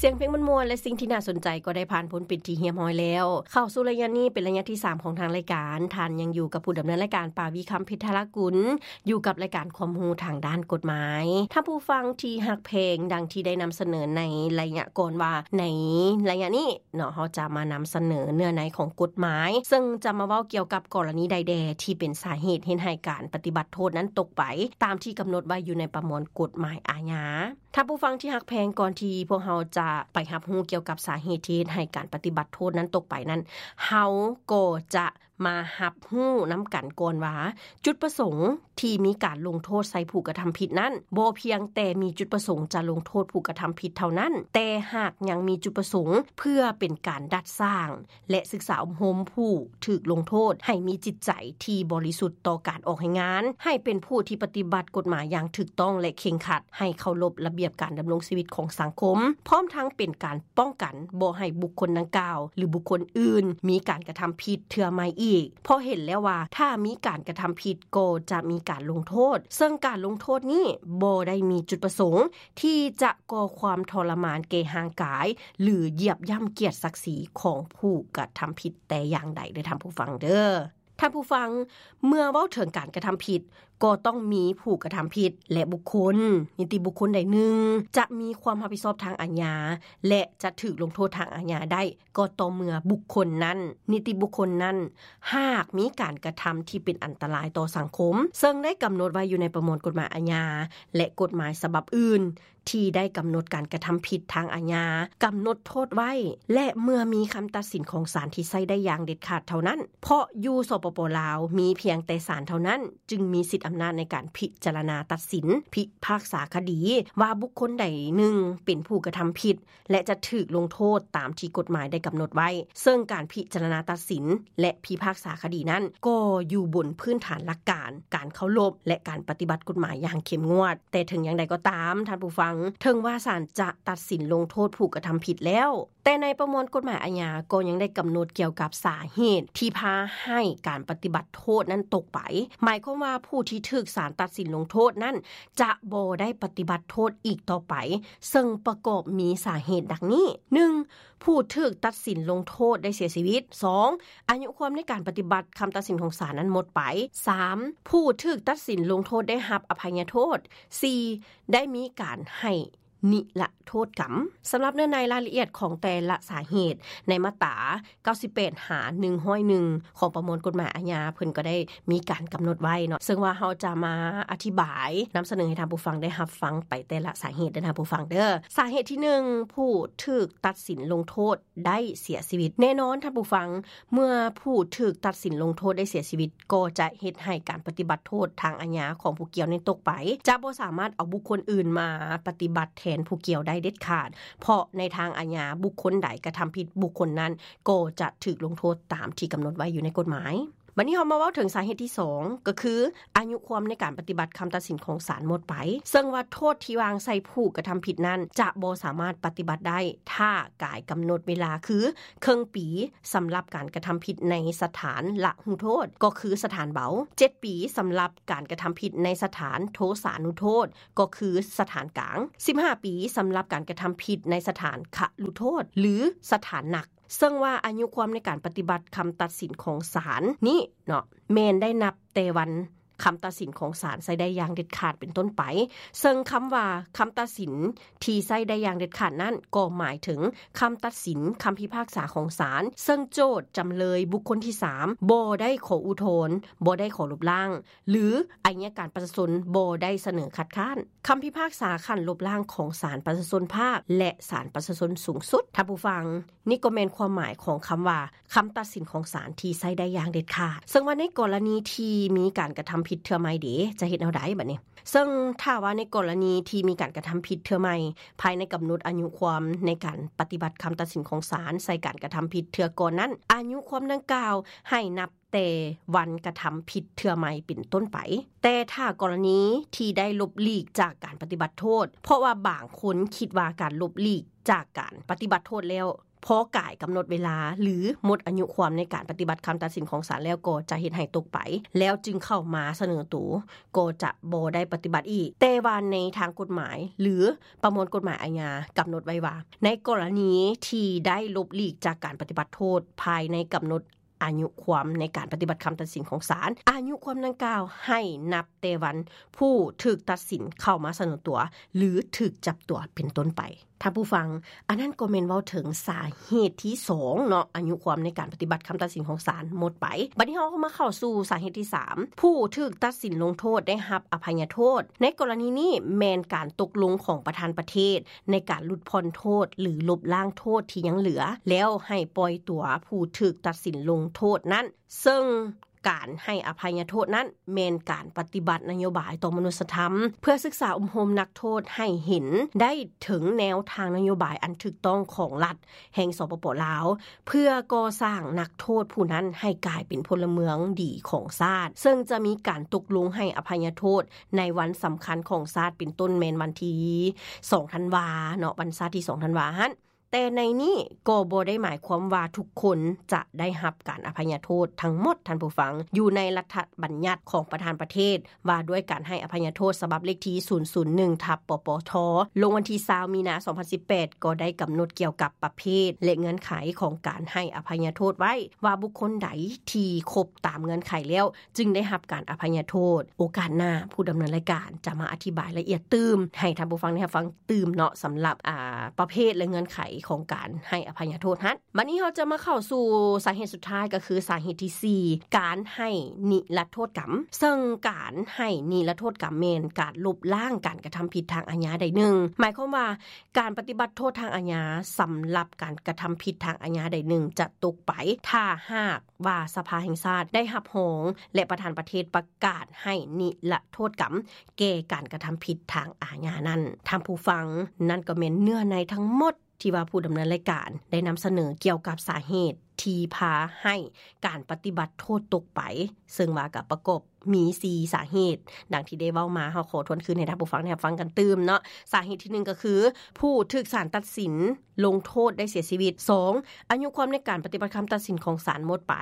ສຽງເພງມ່ວນໆ ແລະ ສິ່ງທີ່ໜ້າສົນໃຈກໍໄດ້ຜ່ານພົ້ນເປັນທີ່ຮຽບຮ້ອຍແລ້ວ. ເຂົ້າສູ່ໄລຍະນີ້ເປັນໄລຍະທີສາມຂອງທາງລາຍການ. ທ່ານຍັງຢູ່ກັບຜູ້ດຳເນີນລາຍການ ປາວີ ຄຳເພັດທະລາກຸນ, ຢູ່ກັບລາຍການຄວາມຮູ້ທາງດ້ານກົດໝາຍ. ທ່ານຜູ້ຟັງທີ່ຮັກແພງ, ດັ່ງທີ່ໄດ້ນຳສະເໜີໃນໄລຍະກ່ອນວ່າ ໃນໄລຍະນີ້ເນາະ, ເຮົາຈະມານຳສະເໜີເນື້ອໃນຂອງກົດໝາຍ, ເຊິ່ງຈະມາເວົ້າກ່ຽວກັບກໍລະນີໃດແດ່ທີ່ເປັນສາເຫດເຮັດໃຫ້ການປະຕິບັດໂທດນັ້ນຕົກໄປ, ຕາມທີ່ກຳນົດໄວ້ຢູ່ໃນປະມວນກົດໝາຍອາຍາ. ທ່ານຜູ້ຟັງທີ່ຮັກແພງ, ກ່ອນທີ່ພວກເຮົາຈະໄປຮັບຮູ້ກ່ຽວກັບສາເຫດທີ່ເຮັດໃຫ້ການປະຕິບັດໂທດນັ້ນຕົກໄປນັ້ນ, ເຮົາກໍຈະມາຮັບຮູ້ນຳກັນກ່ອນວ່າ ຈຸດປະສົງທີ່ມີການລົງໂທດໃສ່ຜູ້ກະທຳຜິດນັ້ນ ບໍ່ພຽງແຕ່ມີຈຸດປະສົງຈະລົງໂທດຜູ້ກະທຳຜິດເທົ່ານັ້ນ, ແຕ່ຫາກຍັງມີຈຸດປະສົງເພື່ອເປັນການດັດສ້າງ ແລະ ສຶກສາອົບຮົມຜູ້ຖືກລົງໂທດໃຫ້ມີຈິດໃຈທີ່ບໍລິສຸດຕໍ່ການອອກແຮງງານ, ໃຫ້ເປັນຜູ້ທີ່ປະຕິບັດກົດໝາຍຢ່າງຖືກຕ້ອງ ແລະ ເຄັ່ງຄັດ, ໃຫ້ເຄົາລົບລະບຽບການດຳລົງຊີວິດຂອງສັງຄົມ, ພ້ອມທັງເປັນການປ້ອງກັນບໍ່ໃຫ້ບຸກຄົນດັ່ງກ່າວ ຫຼື ບຸກຄົນອື່ນມີການກະທຳຜິດເທື່ອໃໝ່ອີກ, ເພາະເຫັນແລ້ວວ່າຖ້າມີການກະທຳຜິດກໍຈະມີການລົງໂທດ, ເຊິ່ງການລົງໂທດນີ້ບໍ່ໄດ້ມີຈຸດປະສົງ ທີ່ຈະກໍ່ຄວາມທໍລະມານແກ່ຮ່າງກາຍ ຫຼື ຢຽບຢ່ຳກຽດສັກສີຂອງຜູ້ກະທຳຜິດແຕ່ຢ່າງໃດເດີທ່ານຜູ້ຟັງເດີ. ທ່ານຜູ້ຟັງ, ເມື່ອເວົ້າເຖິງການກະທຳຜິດ, ກໍຕ້ອງມີຜູ້ກະທຳຜິດ ແລະ ບຸກຄົນ, ນິຕິບຸກຄົນໃດໜຶ່ງ ຈະມີຄວາມຮັບຜິດຊອບທາງອາຍາ ແລະ ຈະຖືກລົງໂທດທາງອາຍາໄດ້ ກໍຕໍ່ເມື່ອບຸກຄົນນັ້ນ, ນິຕິບຸກຄົນນັ້ນ ຫາກມີການກະທຳທີ່ເປັນອັນຕະລາຍຕໍ່ສັງຄົມ, ເຊິ່ງໄດ້ກຳນົດໄວ້ຢູ່ໃນປະມວນກົດໝາຍອາຍາ ແລະ ກົດໝາຍສະບັບອື່ນ ທີ່ໄດ້ກຳນົດການກະທຳຜິດທາງອາຍາ, ກຳນົດໂທດໄວ້, ແລະ ເມື່ອມີຄຳຕັດສິນຂອງສານທີ່ໃຊ້ໄດ້ຢ່າງເດັດຂາດເທົ່ານັ້ນ, ເພາະຢູ່ ສປປ ລາວ ມີພຽງແຕ່ສານເທົ່ານັ້ນ ຈຶ່ງມີສິດອຳນາດໃນການພິຈາລະນາຕັດສິນ, ພິພາກສາຄະດີ ວ່າບຸກຄົນໃດໜຶ່ງເປັນຜູ້ກະທຳຜິດ ແລະ ຈະຖືກລົງໂທດຕາມທີ່ກົດໝາຍໄດ້ກຳນົດໄວ້, ເຊິ່ງການພິຈາລະນາຕັດສິນ ແລະ ພິພາກສາຄະດີນັ້ນ ກໍຢູ່ບົນພື້ນຖານຫຼັກການ ການເຄົາລົບ ແລະ ການປະຕິບັດກົດໝາຍຢ່າງເຂັ້ມງວດ. ແຕ່ເຖິງຢ່າງໃດກໍຕາມ, ທ່ານຜູ້ຟັງ, ເຖິງວ່າສານຈະຕັດສິນລົງໂທດຜູ້ກະທຳຜິດແລ້ວ, ແຕ່ໃນປະມວນກົດໝາຍອາຍາກໍຍັງໄດ້ກຳນົດກ່ຽວກັບສາເຫດທີ່ພາໃຫ້ການປະຕິບັດໂທດນັ້ນຕົກໄປ. ໝາຍຄວາມວ່າຜູ້ທີ່ຖືກສານຕັດສິນລົງໂທດນັ້ນ ຈະບໍ່ໄດ້ປະຕິບັດໂທດອີກຕໍ່ໄປ, ເຊິ່ງປະກອບມີສາເຫດດັ່ງນີ້: ໜຶ່ງ ຜູ້ຖືກຕັດສິນລົງໂທດໄດ້ເສຍຊີວິດ, ສອງ ອາຍຸຄວາມໃນການປະຕິບັດຄຳຕັດສິນຂອງສານນັ້ນໝົດໄປ, ສາມ ຜູ້ຖືກຕັດສິນລົງໂທດໄດ້ຮັບອະໄພຍະໂທດ, ສີ່ ໄດ້ມີການໃຫ້ນິລະໂທດກຳ. ສຳລັບເນື້ອໃນລາຍລະອຽດຂອງແຕ່ລະສາເຫດ ໃນມາດຕາ ເກົ້າສິບແປດ ຫາ ໜຶ່ງຮ້ອຍເອັດ ຂອງປະມວນກົດໝາຍອາຍາ ເພິ່ນກໍໄດ້ມີການກຳນົດໄວ້ເນາະ, ເຊິ່ງວ່າເຮົາຈະມາອະທິບາຍນຳສະເໜີໃຫ້ທ່ານຜູ້ຟັງໄດ້ຮັບຟັງໄປແຕ່ລະສາເຫດເດີທ່ານຜູ້ຟັງເດີ. ສາເຫດທີໜຶ່ງ ຜູ້ຖືກຕັດສິນລົງໂທດໄດ້ເສຍຊີວິດ. ແນ່ນອນທ່ານຜູ້ຟັງ, ເມື່ອຜູ້ຖືກຕັດສິນລົງໂທດໄດ້ເສຍຊີວິດ, ກໍຈະເຮັດໃຫ້ການປະຕິບັດໂທດທາງອາຍາຂອງຜູ້ກ່ຽວນັ້ນຕົກໄປ, ຈະບໍ່ສາມາດເອົາບຸກຄົນອື່ນມາປະຕິບັດແທນຜູ້ກ່ຽວໄດ້ເດັດຂາດ, ເພາະໃນທາງອາຍາ ບຸກຄົນໃດກະທຳຜິດ, ບຸກຄົນນັ້ນກໍຈະຖືກລົງໂທດຕາມທີ່ກຳນົດໄວ້ຢູ່ໃນກົດໝາຍ. ບັດນີ້ເຮົາມາເວົ້າເຖິງສາເຫດທີສອງ ກໍຄືອາຍຸຄວາມໃນການປະຕິບັດຄຳຕັດສິນຂອງສານໝົດໄປ, ເຊິ່ງວ່າໂທດທີ່ວາງໃສ່ຜູ້ກະທຳຜິດນັ້ນ ຈະບໍ່ສາມາດປະຕິບັດໄດ້ ຖ້າກາຍກຳນົດເວລາຄື ເຄິ່ງປີ ສຳລັບການກະທຳຜິດໃນສະຖານລະຫູໂທດ ກໍຄືສະຖານເບົາ, ເຈັດປີ ສຳລັບການກະທຳຜິດໃນສະຖານໂທສານຸໂທດ ກໍຄືສະຖານກາງ, ສິບຫ້າປີ ສຳລັບການກະທຳຜິດໃນສະຖານຄະລຸໂທດ ຫຼື ສະຖານໜັກ. ເຊິ່ງວ່າອາຍຸຄວາມໃນການປະຕິບັດຄຳຕັດສິນຂອງສານນີ້ເນາະ ແມ່ນໄດ້ນັບແຕ່ວັນຄຳຕັດສິນຂອງສານໃຊ້ໄດ້ຢ່າງເດັດຂາດເປັນຕົ້ນໄປ. ເຊິ່ງຄຳວ່າຄຳຕັດສິນທີ່ໃຊ້ໄດ້ຢ່າງເດັດຂາດນັ້ນ ກໍໝາຍເຖິງຄຳຕັດສິນ, ຄຳພິພາກສາຂອງສານ, ເຊິ່ງໂຈດ, ຈຳເລີຍ, ບຸກຄົນທີສາມ ບໍ່ໄດ້ຂໍອຸທອນ, ບໍ່ໄດ້ຂໍລົບລ້າງ ຫຼື ໄອຍະການປະຊາຊົນບໍ່ໄດ້ສະເໜີຄັດຄ້ານ. ຄຳພິພາກສາຂັ້ນລົບລ້າງຂອງສານປະຊາຊົນພາກ ແລະ ສານປະຊາຊົນສູງສຸດ. ທ່ານຜູ້ຟັງ, ນີ້ກໍແມ່ນຄວາມໝາຍຂອງຄຳວ່າ ຄຳຕັດສິນຂອງສານທີ່ໃຊ້ໄດ້ຢ່າງເດັດຂາດ. ເຊິ່ງວ່າໃນກໍລະນີທີ່ມີການກະທຳຜິດເທື່ອໃໝ່ເດ ຈະເຮັດແນວໃດບັດນີ້? ເຊິ່ງຖ້າວ່າໃນກໍລະນີທີ່ມີການກະທຳຜິດເທື່ອໃໝ່ ພາຍໃນກຳນົດອາຍຸຄວາມໃນການປະຕິບັດຄຳຕັດສິນຂອງສານໃສ່ການກະທຳຜິດເທື່ອກ່ອນນັ້ນ, ອາຍຸຄວາມດັ່ງກ່າວໃຫ້ນັບ ແຕ່ວັນກະທຳຜິດເທື່ອໃໝ່ເປັນຕົ້ນໄປ. ແຕ່ຖ້າກໍລະນີທີ່ໄດ້ຫຼົບຫຼີກຈາກການປະຕິບັດໂທດ, ເພາະວ່າບາງຄົນຄິດວ່າການຫຼົບຫຼີກຈາກການປະຕິບັດໂທດແລ້ວ ພໍກາຍກຳນົດເວລາ ຫຼື ໝົດອາຍຸຄວາມໃນການປະຕິບັດຄຳຕັດສິນຂອງສານແລ້ວ ກໍຈະເຮັດໃຫ້ຕົກໄປ ແລ້ວຈຶ່ງເຂົ້າມາສະເໜີໂຕ ກໍຈະບໍ່ໄດ້ປະຕິບັດອີກ. ແຕ່ວ່າໃນທາງກົດໝາຍ ຫຼື ປະມວນກົດໝາຍອາຍາ ກຳນົດໄວ້ວ່າ ໃນກໍລະນີທີ່ໄດ້ຫຼົບຫຼີກຈາກການປະຕິບັດໂທດພາຍໃນກຳນົດອາຍຸຄວາມໃນການປະຕິບັດຄຳຕັດສິນຂອງສານ, ອາຍຸຄວາມດັ່ງກ່າວໃຫ້ນັບແຕ່ວັນຜູ້ຖືກຕັດສິນເຂົ້າມາສະເໜີຕົວ ຫຼື ຖືກຈັບຕົວເປັນຕົ້ນໄປ. ທ່ານຜູ້ຟັງ, ອັນນັ້ນກໍແມ່ນເວົ້າເຖິງສາເຫດທີສອງເນາະ, ອາຍຸຄວາມໃນການປະຕິບັດຄຳຕັດສິນຂອງສານໝົດໄປ. ບັດນີ້ເຮົາກໍມາເຂົ້າສູ່ສາເຫດທີສາມ, ຜູ້ຖືກຕັດສິນລົງໂທດໄດ້ຮັບອະໄພຍະໂທດ. ໃນກໍລະນີນີ້ແມ່ນການຕົກລົງຂອງປະທານປະເທດໃນການຫຼຸດຜ່ອນໂທດ ຫຼື ລົບລ້າງໂທດທີ່ຍັງເຫຼືອ, ແລ້ວໃຫ້ປ່ອຍຕົວຜູ້ຖືກຕັດສິນລົງໂທດນັ້ນ, ເຊິ່ງ ການໃຫ້ອະໄພຍະໂທດນັ້ນແມ່ນການປະຕິບັດນະໂຍບາຍຕໍ່ມະນຸດສະທຳ ເພື່ອສຶກສາອົບຮົມນັກໂທດໃຫ້ເຫັນໄດ້ເຖິງແນວທາງນະໂຍບາຍອັນຖືກຕ້ອງຂອງລັດແຫ່ງ ສປປ ລາວ ເພື່ອກໍ່ສ້າງນັກໂທດຜູ້ນັ້ນໃຫ້ກາຍເປັນພົນລະເມືອງດີຂອງຊາດ, ເຊິ່ງຈະມີການຕົກລົງໃຫ້ອະໄພຍະໂທດໃນວັນສຳຄັນຂອງຊາດ ເປັນຕົ້ນແມ່ນວັນທີສອງທັນວາເນາະ, ວັນຊາດທີສອງທັນວາຫັ້ນ. ແຕ່ໃນນີ້ກໍບໍ່ໄດ້ໝາຍຄວາມວ່າທຸກຄົນຈະໄດ້ຮັບການອະໄພຍະໂທດທັງໝົດ, ທ່ານຜູ້ຟັງ. ຢູ່ໃນລັດຖະບັນຍັດຂອງປະທານປະເທດວ່າດ້ວຍການໃຫ້ອະໄພຍະໂທດ ສະບັບເລກທີສູນສູນໜຶ່ງ ທັບ ປປທ ລົງວັນທີຊາວ ມີນາ ສອງພັນສິບແປດ ກໍໄດ້ກຳນົດກ່ຽວກັບປະເພດ ແລະ ເງື່ອນໄຂຂອງການໃຫ້ອະໄພຍະໂທດໄວ້ວ່າ ບຸກຄົນໃດທີ່ຄົບຕາມເງື່ອນໄຂແລ້ວ ຈຶ່ງໄດ້ຮັບການອະໄພຍະໂທດ. ໂອກາດໜ້າ ຜູ້ດຳເນີນລາຍການຈະມາອະທິບາຍລະອຽດຕື່ມໃຫ້ທ່ານຜູ້ຟັງໄດ້ຮັບຟັງຕື່ມເນາະ, ສຳລັບ ອາ ປະເພດ ແລະ ເງື່ອນໄຂຂອງການໃຫ້ອະໄພຍະໂທດຫັ້ນ. ບັດນີ້ເຮົາຈະມາເຂົ້າສູ່ສາເຫດສຸດທ້າຍ ກໍຄືສາເຫດທີສີ່ ການໃຫ້ນິລະໂທດກຳ, ເຊິ່ງການໃຫ້ນິລະໂທດກຳແມ່ນການລົບລ້າງການກະທຳຜິດທາງອາຍາໃດໜຶ່ງ, ໝາຍຄວາມວ່າ ການປະຕິບັດໂທດທາງອາຍາສຳລັບການກະທຳຜິດທາງອາຍາໃດໜຶ່ງຈະຕົກໄປ ຖ້າຫາກວ່າສະພາແຫ່ງຊາດໄດ້ຮັບຮອງ ແລະ ປະທານປະເທດປະກາດໃຫ້ນິລະໂທດກຳແກ່ການກະທຳຜິດທາງອາຍານັ້ນ. ທ່ານຜູ້ຟັງ, ນັ້ນກໍແມ່ນເນື້ອໃນທັງໝົດທີ່ວ່າຜູ້ດຳເນີນລາຍການໄດ້ນຳສະເໜີກ່ຽວກັບສາເຫດທີ່ພາໃຫ້ການປະຕິບັດໂທດຕົກໄປ, ເຊິ່ງວ່າກໍປະກອບ ມີສີ່ສາເຫດ ດັ່ງທີ່ໄດ້ເວົ້າມາ, ເຮົາຂໍທວນຄືນໃຫ້ທ່ານຜູ້ຟັງໄດ້ຮັບຟັງກັນຕື່ມເນາະ. ສາເຫດທີໜຶ່ງກໍຄື ຜູ້ຖືກສານຕັດສິນລົງໂທດໄດ້ເສຍຊີວິດ. ສອງ ອາຍຸຄວາມໃນການປະຕິບັດຄຳຕັດສິນຂອງສານໝົດໄປ.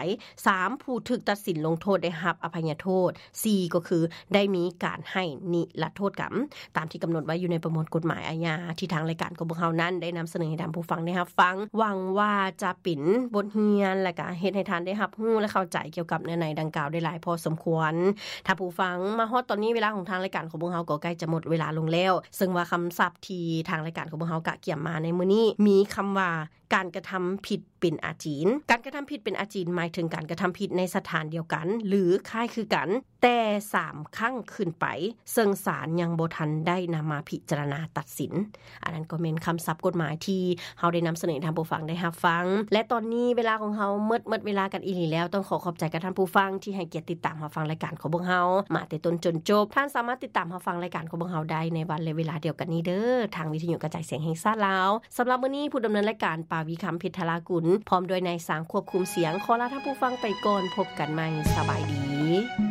ສາມ ຜູ້ຖືກຕັດສິນລົງໂທດໄດ້ຮັບອະໄພຍະໂທດ. ສີ່ ກໍຄືໄດ້ມີການໃຫ້ນິລະໂທດກຳ ຕາມທີ່ກຳນົດໄວ້ຢູ່ໃນປະມວນກົດໝາຍອາຍາ ທີ່ທາງລາຍການຂອງພວກເຮົານັ້ນໄດ້ນຳສະເໜີໃຫ້ທ່ານຜູ້ຟັງໄດ້ຮັບຟັງ. ຫວັງວ່າຈະເປັນບົດຮຽນ ແລະ ກະເຮັດໃຫ້ທ່ານໄດ້ຮັບຮູ້ ແລະ ເຂົ້າໃຈກ່ຽວກັບເນື້ອໃນດັ່ງກ່າວໄດ້ຫຼາຍພໍສົມຄວນ. ທ່ານຜູ້ຟັງ, ມາຮອດຕອນນີ້ເວລາຂອງທາງລາຍການຂອງພວກເຮົາກໍໃກ້ຈະໝົດເວລາລົງແລ້ວ, ເຊິ່ງວ່າຄຳສັບທີ່ທາງລາຍການຂອງພວກເຮົາກະກຽມມາໃນມື້ນີ້ ມີຄຳວ່າ ການກະທຳຜິດເປັນອາຈີນ. ການກະທຳຜິດເປັນອາຈີນ ໝາຍເຖິງການກະທຳຜິດໃນສະຖານດຽວກັນ ຫຼື ຄ້າຍຄືກັນ ແຕ່ສາມຄັ້ງຂຶ້ນໄປ, ເຊິ່ງສານຍັງບໍ່ທັນໄດ້ນຳມາພິຈາລະນາຕັດສິນ. ອັນນັ້ນກໍແມ່ນຄຳສັບກົດໝາຍທີ່ເຮົາໄດ້ນຳສະເໜີໃຫ້ທ່ານຜູ້ຟັງໄດ້ຮັບຟັງ. ແລະ ຕອນນີ້ເວລາຂອງເຮົາໝົດ, ໝົດເວລາກັນອີ່ຫຼີແລ້ວ. ຕ້ອງຂໍຂອບໃຈກັບທ່ານຜູ້ຟັງທີ່ໃຫ້ກຽດຕິດຕາມຮັບຟັງລາຍການຂອງພວກເຮົາມາແຕ່ຕົ້ນຈົນຈົບ. ທ່ານສາມາດຕິດຕາມຮັບຟັງລາຍການຂອງພວກເຮົາໄດ້ໃນວັນ ແລະ ເວລາດຽວກັນນີ້ເດີ, ທາງວິທະຍຸກະຈາຍສຽງແຫ່ງຊາດລາວ. ສຳລັບມື້ນີ້ ຜູ້ດຳເນີນລາຍການ ປາວີຄຳ ເພັດທະລາກຸນ ພ້ອມດ້ວຍນາຍຊ່າງຄວບຄຸມສຽງ ຂໍລາທ່ານຜູ້ຟັງໄປກ່ອນ. ພົບກັນໃໝ່. ສະບາຍດີ.